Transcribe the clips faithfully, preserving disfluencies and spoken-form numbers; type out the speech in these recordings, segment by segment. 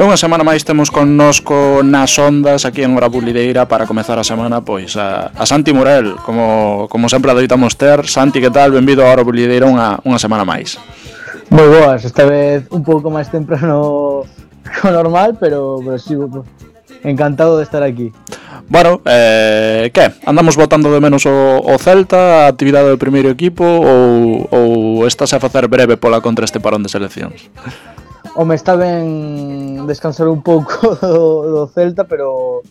E unha semana máis temos connosco nas ondas aquí en Hora Bulideira para comezar a semana pois a, a Santi Morel, como, como sempre adoitamos ter. Santi, que tal? Benvido a Hora Bulideira unha, unha semana máis. Moi boas, esta vez un pouco máis temprano co normal, pero, pero sí, encantado de estar aquí. Bueno, eh, que? Andamos botando de menos o, o Celta, a actividade do primeiro equipo, ou, ou estás a facer breve pola contra este parón de seleccións? Home, está ben descansar un pouco do, do Celta, pero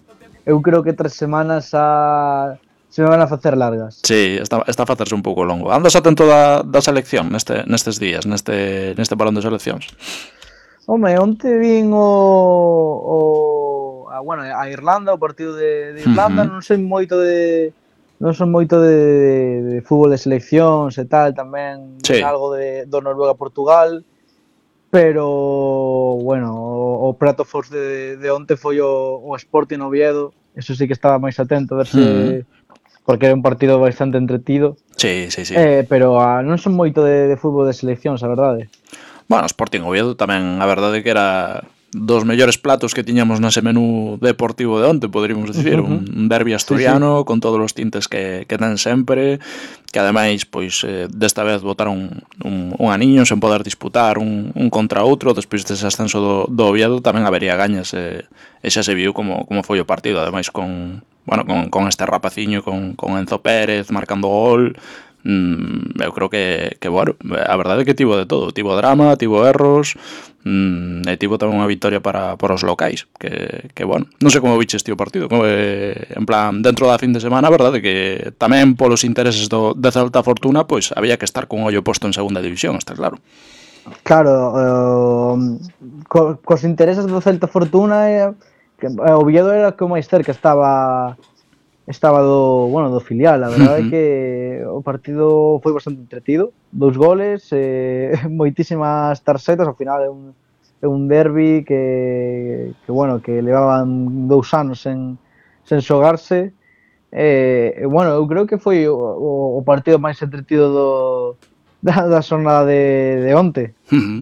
eu creo que tres semanas a... se me van a facer largas. Sí, está, está a facerse un pouco longo. Andas atento da, da selección neste, nestes días, neste, neste parón de seleccións? Home, onte vin o... o a, bueno, a Irlanda, o partido de, de Irlanda, uh-huh. non sei moito de... non son moito de, de, de fútbol de seleccións e tal, tamén sí. Algo de, do Noruega-Portugal, pero, bueno, o, o prato forte de, de onte foi o, o Sporting Oviedo, eso sí que estaba máis atento a ver se... Uh-huh. Porque era un partido bastante entretido. Sí, sí, sí. Eh, pero a, non son moito de, de fútbol de seleccións, a verdade. Bueno, Sporting Oviedo tamén, a verdade que era dos mellores platos que tiñamos nese menú deportivo de onte, poderíamos dicir, uh-huh. un, un derbi asturiano, sí, sí. Con todos os tintes que, que ten sempre, que ademais, pois, eh, desta vez botaron un, un aniño sen poder disputar un, un contra outro, despois dese ascenso do, do Oviedo tamén habería gañas, e, e xa se viu como, como foi o partido, ademais con, bueno, con, con este rapaciño, con, con Enzo Pérez marcando gol. Mm, eu creo que, que, bueno, a verdade é que tivo de todo, tivo drama, tivo erros, mm, e tivo tamén unha victoria para, para os locais, que, que bueno, non sei como viches ti o partido, como, eh, en plan, dentro da fin de semana, a verdade que tamén polos intereses do, de Celta Fortuna, pois había que estar con ollo posto en segunda división, está claro. Claro, uh, co, cos intereses do Celta Fortuna, eh, que, o Oviedo era que o máis cerca estaba... estaba do, bueno, do filial, a verdade é uh-huh. que o partido foi bastante entretido, dous goles, eh, moitísimas tarxetas, ao final é un, é un derbi que, que, bueno, que levaban dous anos sen, sen xogarse, e, eh, bueno, eu creo que foi o, o partido máis entretido do, da, da xornada de, de onte. Uh-huh.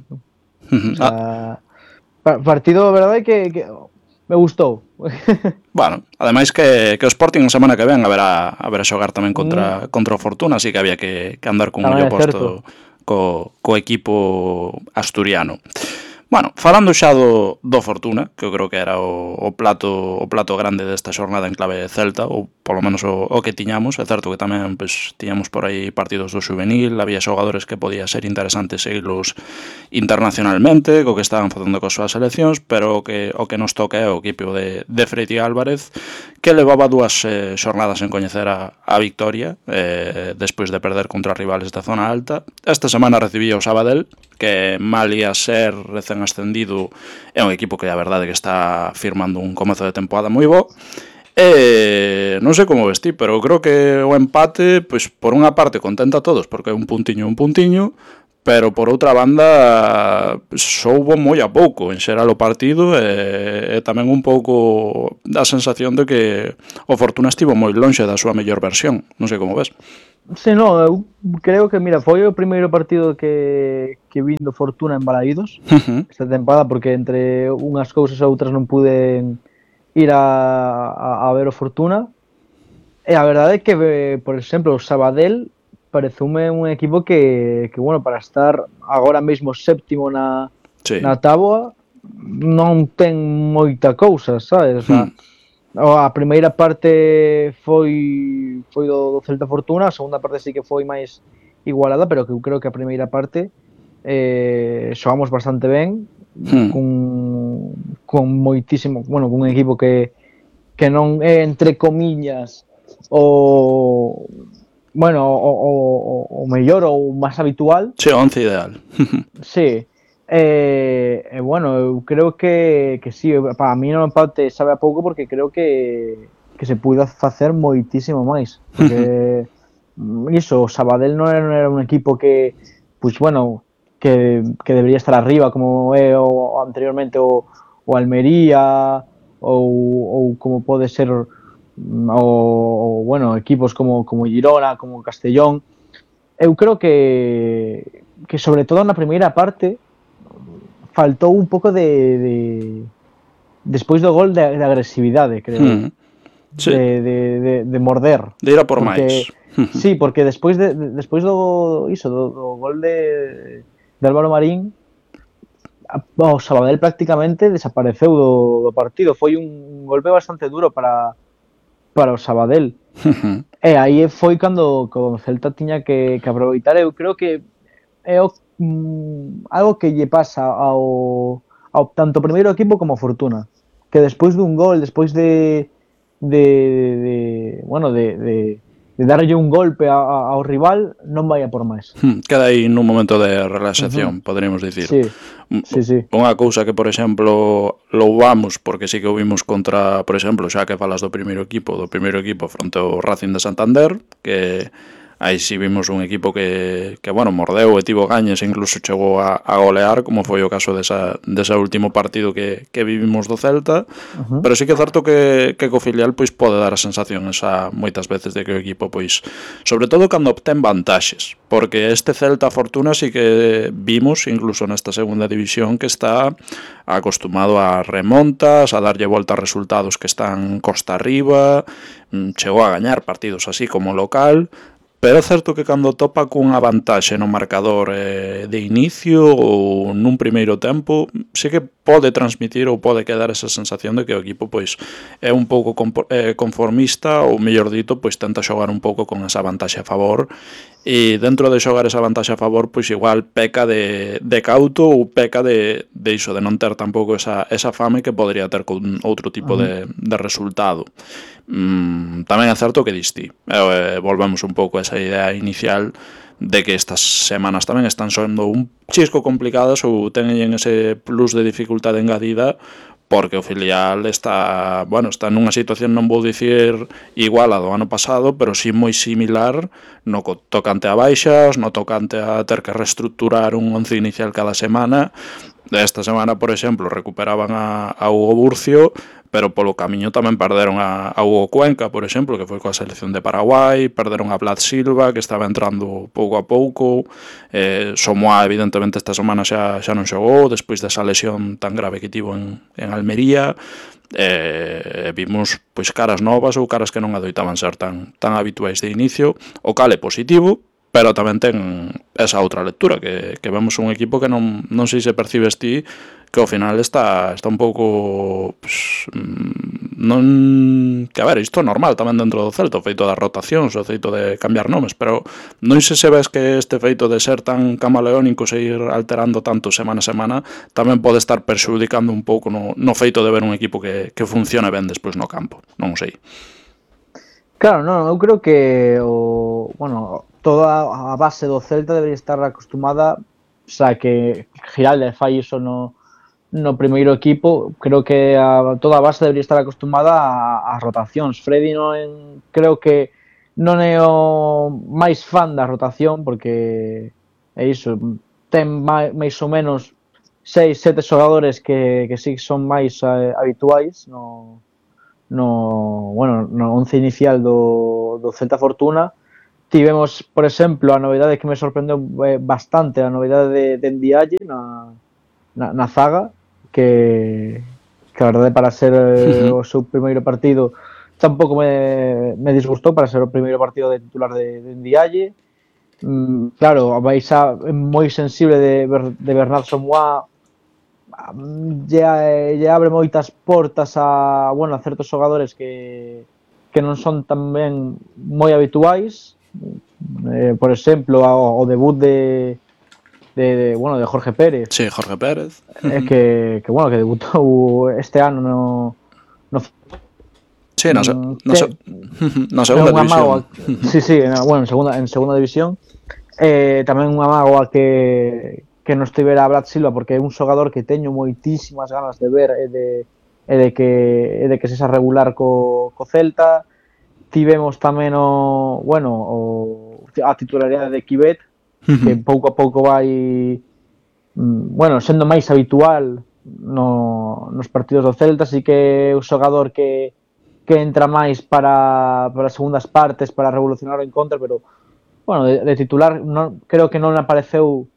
Uh-huh. O sea, ah. partido, a verdade é que, que me gustou. Bueno, ademais que, que o Sporting a semana que ven haberá, haberá xogar tamén contra, mm. contra o Fortuna, así que había que, que andar con un ollo posto co, co equipo asturiano. Bueno, falando xa do, do Fortuna, que eu creo que era o, o plato o plato grande desta xornada en clave Celta, ou polo menos o, o que tiñamos, é certo que tamén pues, tiñamos por aí partidos do juvenil, había xogadores que podía ser interesantes seguirlos internacionalmente, co que estaban facendo coas súas seleccións, pero o que, o que nos toca é o equipo de, de Freiti Álvarez, que levaba dúas eh, xornadas en coñecer a, a victoria, eh, despois de perder contra rivales da zona alta. Esta semana recibía o Sabadell, que mal ia ser recén ascendido, é un equipo que a verdade que está firmando un comezo de temporada moi bo. E non sei como vestí, pero creo que o empate, pois por unha parte contenta a todos, porque é un puntiño un puntiño, pero por outra banda soubo moi a pouco en xeral o partido, e, e tamén un pouco da sensación de que o Fortuna estivo moi lonxe da súa mellor versión. Non sei como ves. Sí, no, eu creo que, mira, foi o primeiro partido que, que vin do Fortuna en Balaídos uh-huh. esta temporada, porque entre unhas cousas e outras non pude ir a, a, a ver o Fortuna. E a verdade é que, por exemplo, o Sabadell pareceume un equipo que, que bueno, para estar agora mesmo séptimo na, sí. na táboa, non ten moita cousa, sabes? O sea, hmm. a primeira parte foi foi do, do Celta Fortuna, a segunda parte sí que foi máis igualada, pero que eu creo que a primeira parte eh, xogamos bastante ben, hmm. con, con moitísimo, bueno, con un equipo que, que non é, entre comillas, o bueno, o, o, o mellor ou o máis habitual. Sí, o once ideal. Sí. E, eh, bueno, eu creo que, que sí, para mí no empate sabe a pouco porque creo que, que se puido facer moitísimo máis. Porque iso, o Sabadell non era, non era un equipo que, pues bueno, que, que debería estar arriba como é o, anteriormente o, o Almería ou, ou como pode ser o, o bueno, equipos como, como Girona, como Castellón. Eu creo que, que sobre todo na primeira parte faltou un pouco de, de, despois do gol de, de agresividade, creo. Mm. Sí. De, de, de, de morder. De ir a por máis. Sí, porque despois de, de despois do iso do, do gol de, de Álvaro Marín, o Sabadell prácticamente desapareceu do, do partido. Foi un golpe bastante duro para para o Sabadell. E aí foi cando o Celta tiña que, que aproveitar. Eu creo que é o, mm, algo que lle pasa ao, ao tanto primeiro equipo como a Fortuna, que despois dun gol, despois de de, de bueno, de, de, de darlle un golpe a, a, ao rival, non vai a por máis. Queda aí nun momento de relaxación, uh-huh. poderíamos dicir. Sí, sí, sí. Unha cousa que, por exemplo, louvamos, porque sí que o vimos contra, por exemplo, xa que falas do primeiro equipo, do primeiro equipo fronte ao Racing de Santander, que aí sí vimos un equipo que, que bueno, mordeu e tivo gañes e incluso chegou a, a golear, como foi o caso desa, desa último partido que, que vivimos do Celta, uh-huh. pero sí que é certo que, que co filial pois pode dar a sensación esa moitas veces de que o equipo, pois, sobre todo cando obtén vantaxes, porque este Celta Fortuna sí que vimos, incluso nesta segunda división, que está acostumado a remontas, a darlle volta a resultados que están costa arriba, chegou a gañar partidos así como local. Pero é certo que cando topa cunha vantaxe no marcador eh, de inicio ou nun primeiro tempo, sí que pode transmitir ou pode quedar esa sensación de que o equipo pois é un pouco conformista ou, mellor dito, pois tenta xogar un pouco con esa vantaxe a favor e dentro de xogar esa vantaxe a favor, pois igual peca de, de cauto ou peca de, de iso, de non ter tampouco esa, esa fame que podría ter con outro tipo de, de resultado. Mm, tamén é certo que distí, eh, volvemos un pouco a esa idea inicial de que estas semanas tamén están sendo un chisco complicadas ou teñen ese plus de dificultade engadida porque o filial está, bueno, está nunha situación, non vou dicir igual a do ano pasado, pero sí moi similar no tocante a baixas, no tocante a ter que reestructurar un once inicial cada semana. Esta semana, por exemplo, recuperaban a, a Hugo Burcio, pero polo camiño tamén perderon a, a Hugo Cuenca, por exemplo, que foi coa selección de Paraguai, perderon a Vlad Silva, que estaba entrando pouco a pouco, eh, Somoa, evidentemente, esta semana xa, xa non xogou, despois desa lesión tan grave que tivo en, en Almería, eh, vimos pois caras novas ou caras que non adoitaban ser tan, tan habituais de inicio, o cal é positivo, pero tamén ten esa outra lectura, que, que vemos un equipo que non, non sei se percibes ti, que ao final está, está un pouco pues, non, que a ver, isto é normal tamén dentro do Celta, o feito das rotacións, o feito de cambiar nomes, pero non sei se ves que este feito de ser tan camaleónico, se ir alterando tanto semana a semana, tamén pode estar perxudicando un pouco no, no feito de ver un equipo que, que funcione ben despois no campo, non sei. Claro, non, eu creo que o, bueno, toda a base do Celta debería estar acostumada, o sea, que Giralde fai iso no no primeiro equipo, creo que a, toda a base debería estar acostumada ás rotacións. Freddy non, creo que non é o máis fan da rotación, porque é iso, ten máis, máis ou menos seis, sete xogadores que, que sí son máis eh, habituais no, no, bueno, no once inicial do, do Celta Fortuna. Tivemos, por exemplo, a novidade que me sorprendeu bastante, a novidade de, de Ndiaye na, na, na zaga, que, que a verdade para ser eh, o seu primeiro partido tampouco me, me disgustou, para ser o primeiro partido de titular de, de Ndiaye. Mm, claro, a Baixa é moi sensible de, de Bernat Somoa, lle, lle abre moitas portas a, bueno, a certos xogadores que, que non son tamén moi habituais. Eh, por exemplo, o, o debut de De, de, bueno, de Jorge Pérez. Sí, Jorge Pérez. Eh, que, que, bueno, que debutou este ano no... no sí, no, no, no, no segunda división. Sí, sí, en, bueno, en segunda, en segunda división. Eh, tamén unha mágoa que, que non estivera a Vlad Silva, porque é un xogador que teño moitísimas ganas de ver e de, e de que e de que se xa regular co, co Celta. Tivemos tamén o, bueno, o, a titularidade de Kibet, que pouco a pouco vai, bueno, sendo máis habitual no, nos partidos do Celta. Así que é un xogador que, que entra máis para, para as segundas partes, para revolucionar o encontro, pero, bueno, de, de titular non, creo que non apareceu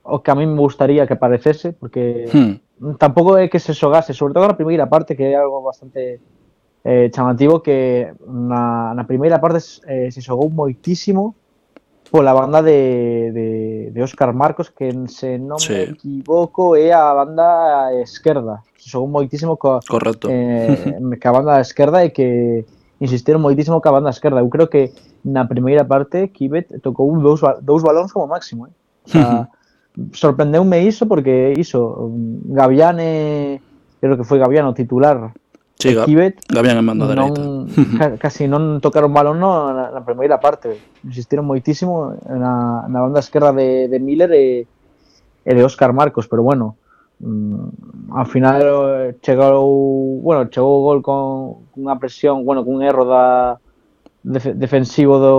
o que a mí me gustaría que aparecese, porque hmm. tampouco é que se xogase, sobre todo na primeira parte, que é algo bastante eh, chamativo, que na, na primeira parte eh, se xogou moitísimo pola banda de, de, de Óscar Marcos, que se non Sí. me equivoco é a banda esquerda. Se xogou moitísimo coa, Correcto. eh, ca banda esquerda e que insistiron moitísimo ca banda esquerda. Eu creo que na primeira parte Kibet tocou dous, dous balóns como máximo, eh? O sea, sorprendeume iso porque iso, Gaviane, creo que foi Gaviano titular, sí, e Kibet Gavián en banda dereita. ca, casi non tocaron balón no, na, na primeira parte. Insistiron moitísimo na, na banda esquerda de, de Miller e, e de Óscar Marcos, pero bueno, mm, ao final chegou, bueno, chegou o gol con unha presión, bueno, cun erro da def, defensivo do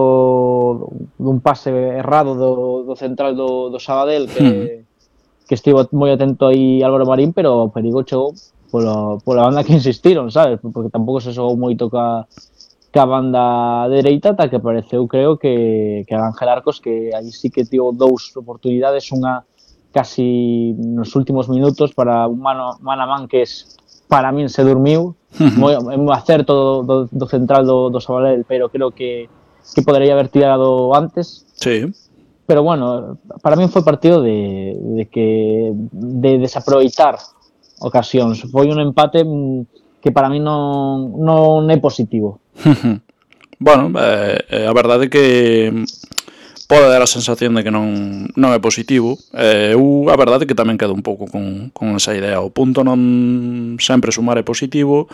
dun pase errado do, do central do, do Sabadell que, hmm. que estivo moi atento aí Álvaro Marín, pero o perigo chegou pola, pola banda que insistiron, sabes? Porque tampouco se xogou moito ca, ca banda dereita, ata que apareceu, creo, que, que Ángel Arcos, que aí sí que tivo dous oportunidades, unha casi nos últimos minutos para un mano, mano a man que es, para min se dormiu, moi, moi acerto do, do, do central do, do Sabadell, pero creo que, que podería haber tirado antes. Sí. Pero bueno, para min foi partido de, de que de desaproveitar ocasións. Foi un empate que para mí non, non é positivo. Bueno, eh, a verdade é que pode dar a sensación de que non, non é positivo. Eh, eu a verdade é que tamén quedo un pouco con, con esa idea. O punto non sempre sumar é positivo,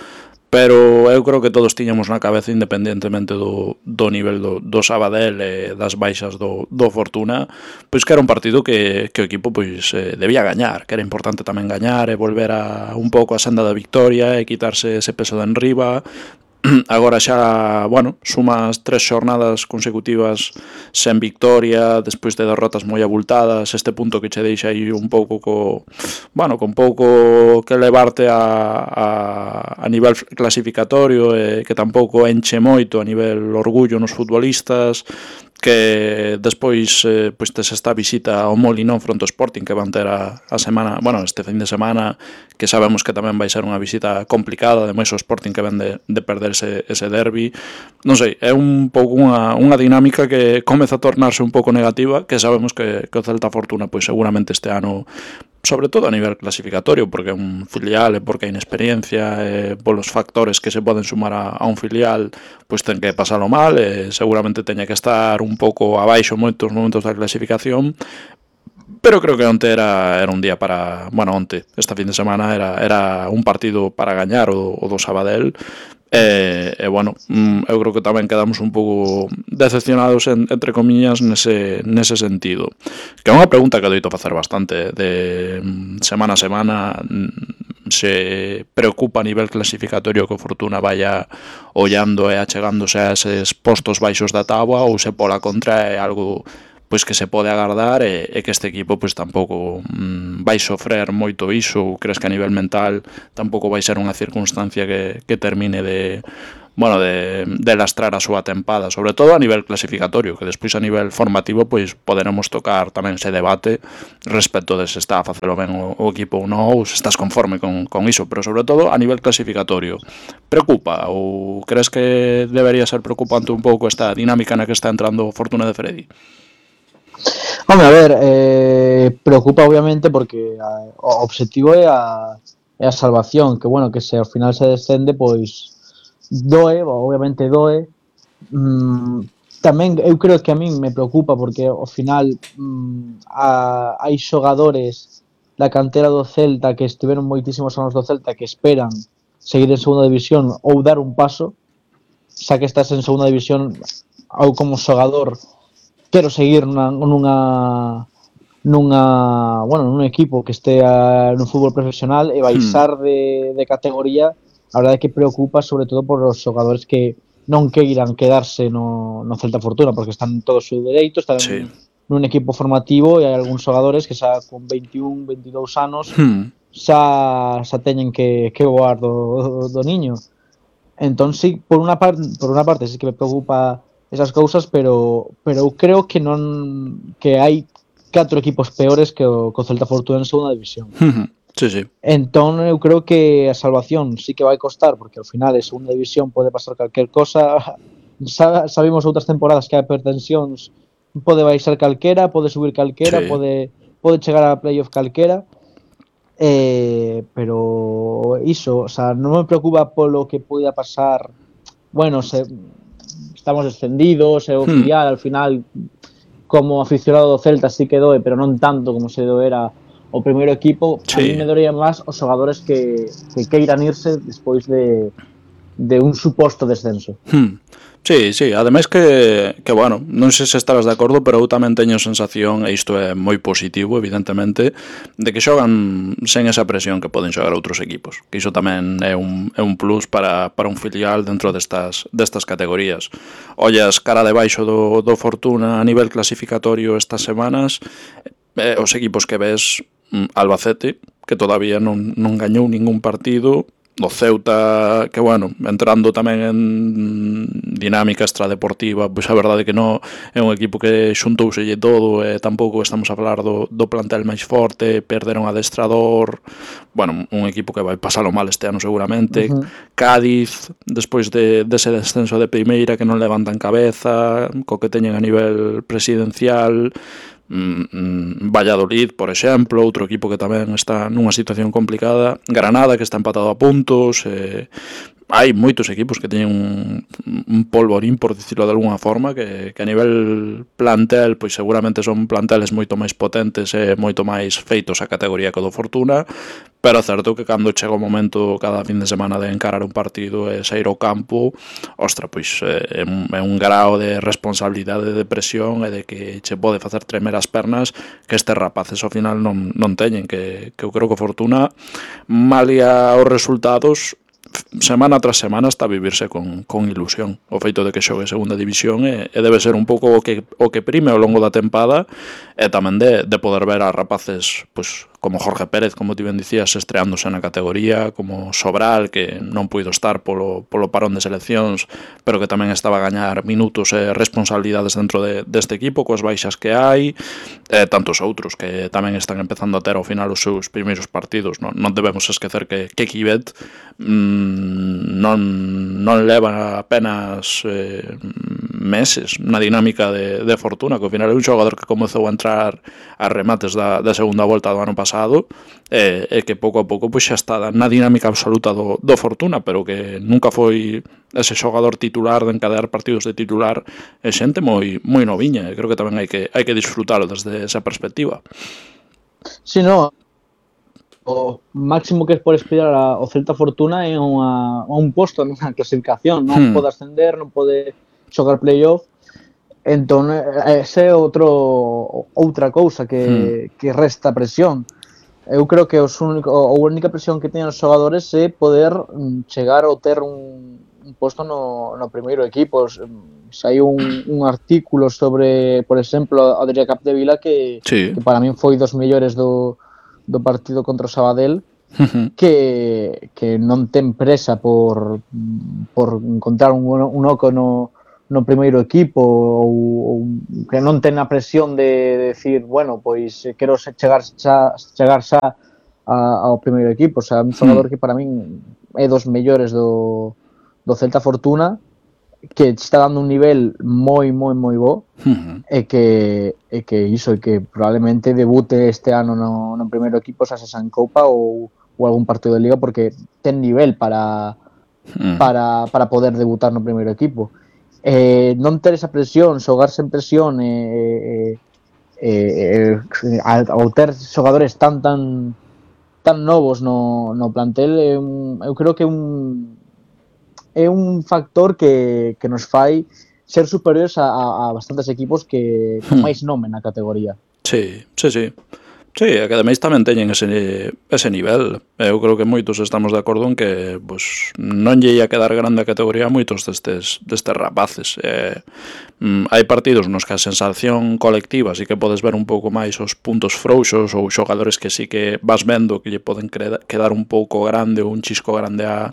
pero eu creo que todos tiñamos na cabeza, independentemente do, do nivel do, do Sabadell e das baixas do, do Fortuna, pois que era un partido que, que o equipo pois eh, debía gañar, que era importante tamén gañar e volver a un pouco a senda da victoria e quitarse ese peso de enriba. Agora xa, bueno, sumas tres xornadas consecutivas sen victoria, despois de derrotas moi abultadas, este punto que che deixa aí un pouco co, bueno, con pouco que levarte a, a, a nivel clasificatorio, e que tampouco enche moito a nivel orgullo nos futbolistas, que despois eh, pois tes esta visita ao Molinón fronte ao Sporting que van ter a, a semana, bueno, este fin de semana, que sabemos que tamén vai ser unha visita complicada, ademais o Sporting que ven de, de perderse ese derbi. Non sei, é un pouco unha, unha dinámica que comeza a tornarse un pouco negativa, que sabemos que, que o Celta Fortuna pois seguramente este ano, sobre todo a nivel clasificatorio, porque é un filial e porque a inexperiencia e polos factores que se poden sumar a, a un filial, pois ten que pasalo mal e seguramente teña que estar un pouco abaixo moitos momentos da clasificación, pero creo que onte era, era un día para, bueno, onte, esta fin de semana era, era un partido para gañar o, o do Sabadell. E, e bueno, eu creo que tamén quedamos un pouco decepcionados en, entre comillas nese, nese sentido, que é unha pregunta que doito facer bastante de semana a semana. Se preocupa a nivel clasificatorio que o Fortuna vaya ollando e achegándose a eses postos baixos da táboa, ou se pola contra é algo pois que se pode agardar e, e que este equipo pois tampouco mm, vai sofrer moito iso, ou crees que a nivel mental tampouco vai ser unha circunstancia que, que termine de, bueno, de, de lastrar a súa tempada, sobre todo a nivel clasificatorio, que despois a nivel formativo pois poderemos tocar tamén ese debate respecto de se está a facelo ben o, o equipo ou non, ou se estás conforme con, con iso, pero sobre todo a nivel clasificatorio. Preocupa ou crees que debería ser preocupante un pouco esta dinámica na que está entrando Fortuna de Freddy? Home, a ver, eh, preocupa obviamente porque a, o objetivo é a, é a salvación, que bueno, que se ao final se descende, pois doe, obviamente doe. Mm, tamén eu creo que a min me preocupa porque ao final mm, a, hai xogadores da cantera do Celta que estiveron moitísimos anos do Celta que esperan seguir en segunda división ou dar un paso, xa que estás en segunda división ou como xogador quero seguir nunha, nunha nunha, bueno, nun equipo que estea no fútbol profesional e baixar hmm. de, de categoría. A verdade é que preocupa sobre todo por os xogadores que non queiran quedarse no, no Celta Fortuna, porque están todos os dereitos, están sí. nun equipo formativo e hai algúns xogadores que xa con veintiún, veintidous anos hmm. xa, xa teñen que, que voar do, do niño. Entón, sí, por unha parte, por unha parte sí que me preocupa esas cousas, pero pero eu creo que non que hai catro equipos peores que o, que o Celta Fortuna en segunda división. Sí, sí. Entón, eu creo que a salvación sí que vai costar, porque ao final é segunda división, pode pasar calquer cosa. Sabemos outras temporadas que a pretensións pode baixar calquera, pode subir calquera, Sí. pode, pode chegar a playoff calquera. Eh, pero iso, o sea, non me preocupa polo que poida pasar. Bueno, se estamos descendidos, e o Hmm. filial al final como aficionado do Celta sí que doe, pero non tanto como se doera o primeiro equipo. Sí. A mí me doería máis os xogadores que, que queiran irse despois de, de un suposto descenso. Hmm. Sí, sí, ademais que, que, bueno, non sei se estarás de acordo, pero eu tamén teño a sensación, e isto é moi positivo, evidentemente, de que xogan sen esa presión que poden xogar outros equipos, que iso tamén é un, é un plus para, para un filial dentro destas, destas categorías. Ollas cara de baixo do, do Fortuna a nivel clasificatorio estas semanas, eh, os equipos que ves, Albacete, que todavía non, non gañou ningún partido, do Ceuta, que, bueno, entrando tamén en dinámica extradeportiva, pois a verdade que non é un equipo que xuntouselle todo, e tampouco estamos a falar do, do plantel máis forte, perderon adestrador, bueno, un equipo que vai pasalo mal este ano seguramente. Uh-huh. Cádiz, despois de, dese descenso de primeira que non levantan cabeza, co que teñen a nivel presidencial. Valladolid, por exemplo, outro equipo que tamén está nunha situación complicada, Granada, que está empatado a puntos. eh, hai moitos equipos que teñen un, un polvorín, por dicirlo de alguna forma, que, que a nivel plantel, pois seguramente son planteles moito máis potentes e moito máis feitos a categoría que o do Fortuna, pero é certo que cando chega o momento cada fin de semana de encarar un partido e sair ao campo, ostra, pois é un, é un grao de responsabilidade, de presión e de que che pode facer tremer as pernas que estes rapaces ao final non, non teñen, que, que eu creo que o Fortuna, malia os resultados, semana tras semana está a vivirse con, con ilusión o feito de que xogue segunda división, e, e debe ser un pouco o que, o que prime ao longo da tempada, e tamén de, de poder ver a rapaces pois, como Jorge Pérez, como ti ben dicías, estreándose na categoría, como Sobral, que non puido estar polo, polo parón de seleccións, pero que tamén estaba a gañar minutos e responsabilidades dentro de, deste equipo, coas baixas que hai, e tantos outros que tamén están empezando a ter ao final os seus primeiros partidos. Non, non debemos esquecer que, que Kibet mmm, non, non leva apenas eh, meses na dinámica de, de Fortuna, que ao final é un xogador que comezou a entrar a remates da, da segunda volta do ano pasado, e, e que pouco a pouco pois, xa está na dinámica absoluta do, do Fortuna, pero que nunca foi ese xogador titular de encadear partidos de titular, e xente moi, moi noviña, e creo que tamén hai que, hai que disfrutalo desde esa perspectiva. Si, sí, no, o máximo que por aspirar ao Celta Fortuna é unha, un posto na clasificación, non hmm. pode ascender, non pode xogar playoff. Entón, ese é outro outra cousa que, hmm. que resta presión. Eu creo que os único, a única presión que teñen os xogadores é poder chegar ou ter un, un posto no, no primeiro equipo. Sai un, un artículo sobre, por exemplo, Adrià Capdevila, que, sí. que para min foi dos mellores do, do partido contra o Sabadell, uh-huh. que, que non ten presa por, por encontrar un, un oco no no primeiro equipo, ou, ou que non ten a presión de decir, bueno, pois quero chegar xa, chegar xa a, ao primeiro equipo. O sea, un xogador hmm. que para min é dos mellores do, do Celta Fortuna, que está dando un nivel moi, moi, moi bo, uh-huh. e que e que iso, e que probablemente debute este ano no, no primeiro equipo, xa se en Copa ou, ou algún partido de Liga, porque ten nivel para, uh-huh. para, para poder debutar no primeiro equipo. Eh, non ter esa presión, xogar sen presión, eh, eh, eh, ao ter xogadores tan tan tan novos no, no plantel, é un, eu creo que é un é un factor que, que nos fai ser superiores a, a, a bastantes equipos que con máis nome na categoría. Sí, sí, sí. Sí, que ademais tamén teñen ese, ese nivel. Eu creo que moitos estamos de acordo en que pues, non lle ia quedar grande a categoría a moitos destes, destes rapaces. Eh, mm, hai partidos nos que a sensación colectiva sí que podes ver un pouco máis os puntos frouxos ou xogadores que sí que vas vendo que lle poden quedar un pouco grande ou un chisco grande a,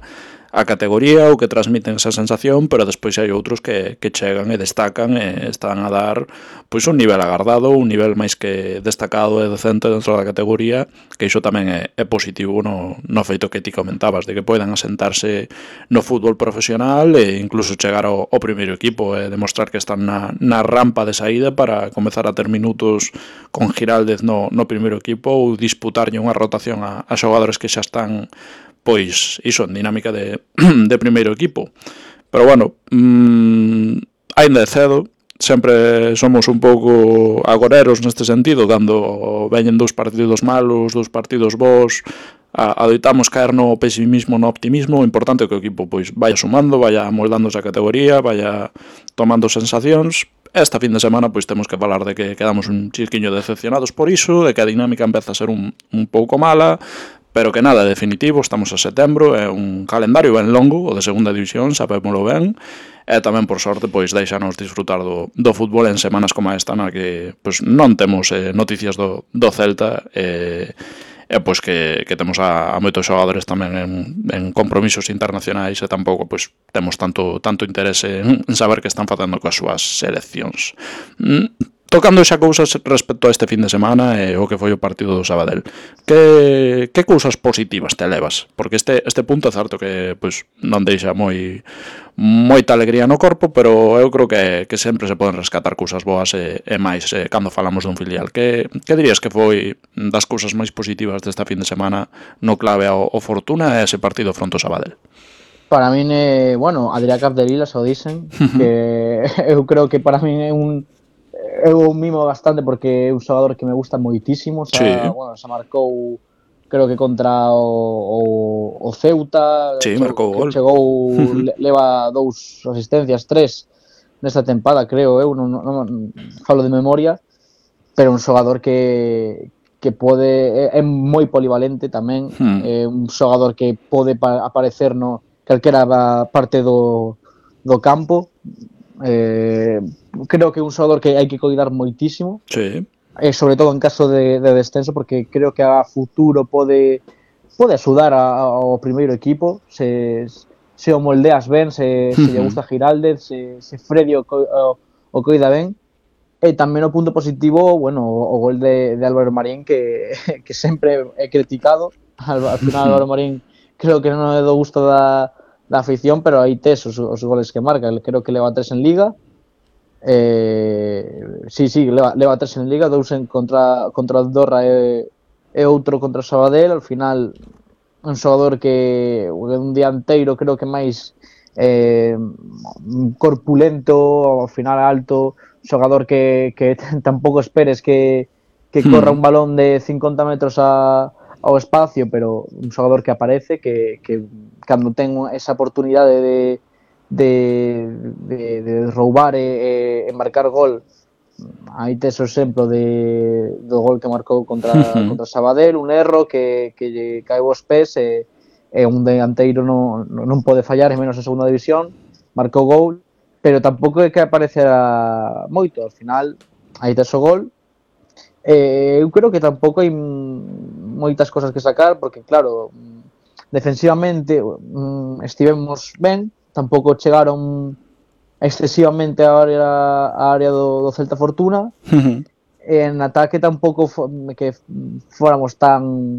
a categoría ou que transmiten esa sensación, pero despois hai outros que, que chegan e destacan e están a dar pois un nivel agardado, un nivel máis que destacado e decente dentro da categoría, que iso tamén é, é positivo no, no feito que ti comentabas, de que poidan asentarse no fútbol profesional e incluso chegar ao, ao primeiro equipo e demostrar que están na, na rampa de saída para comezar a ter minutos con Giraldez no, no primeiro equipo ou disputarlle unha rotación a, a xogadores que xa están pois iso en dinámica de, de primeiro equipo. Pero bueno, mmm, ainda é cedo, sempre somos un pouco agoreros neste sentido, cando veñen dous partidos malos, dous partidos bons, adoitamos caer no pesimismo, no optimismo. O importante é que o equipo pois vaya sumando, vaya moldándose a categoría, vaya tomando sensacións. Esta fin de semana pois temos que falar de que quedamos un chisquiño decepcionados por iso, de que a dinámica empeza a ser un, un pouco mala, pero que nada definitivo. Estamos a setembro, é un calendario ben longo, o de segunda división, sabémolo ben, e tamén por sorte pois deixanos disfrutar do, do fútbol en semanas como esta na que pois non temos eh, noticias do, do Celta e, e pois que, que temos a, a moitos xogadores tamén en, en compromisos internacionais e tampouco pois temos tanto tanto interese en, en saber que están facendo coas súas seleccións. Mm. Tocando xa cousas respecto a este fin de semana e o que foi o partido do Sabadell, que, que cousas positivas te levas? Porque este, este punto é certo que pois, non deixa moi moita alegría no corpo, pero eu creo que, que sempre se poden rescatar cousas boas e, e máis eh, cando falamos dun filial. Que, que dirías que foi das cousas máis positivas desta fin de semana no clave ao, ao Fortuna e ese partido fronte ao Sabadell? Para min é, bueno, Adrià Capdevila, o dicen, que eu creo que para min é un eu mimo bastante porque é un xogador que me gusta moitísimo, xa, sí. bueno, xa marcou creo que contra o, o, o Ceuta, sí, chegou, marcou gol. Chegou, leva dous asistencias, tres nesta tempada, creo eu, non, non, non falo de memoria, pero un xogador que que pode, é, é moi polivalente tamén, hmm. é un xogador que pode pa, aparecer no calquera parte do, do campo. Eh, creo que é un xogador que hai que coidar moitísimo, sí. eh, sobre todo en caso de, de descenso, porque creo que a futuro pode pode axudar a, ao primeiro equipo se, se o moldeas ben, se, uh-huh. se lle gusta Giraldez, se, se Freddy o, o, o coida ben. E tamén o punto positivo, bueno, o, o gol de, de Álvaro Marín, que, que sempre é criticado. Al, al final Álvaro Marín creo que non é do gusto da da afición, pero aí tes os, os goles que marca. Creo que leva tres en Liga, eh, sí, sí, leva, leva tres en Liga, dous en contra, contra Andorra e, e outro contra Sabadell. Al final un xogador que un dianteiro creo que máis eh, corpulento, ao final alto, xogador que, que tampouco esperes que, que corra un balón de cincuenta metros a ao espacio, pero un xogador que aparece, que, que cando ten esa oportunidade de, de, de, de roubar e, e marcar gol, aí tes o exemplo de, do gol que marcou contra, uh-huh. contra Sabadell, un erro que, que lle caeu aos pés e, e un delanteiro non, non pode fallar, e menos en segunda división, marcou gol, pero tampouco é que aparecera moito. Ao final, aí tes o gol. Eh, eu creo que tampouco hai moitas cosas que sacar, porque claro, defensivamente mm, estivemos ben, tampouco chegaron excesivamente a área, a área do, do Celta Fortuna. Uh-huh. En ataque tampouco fo, que fóramos tan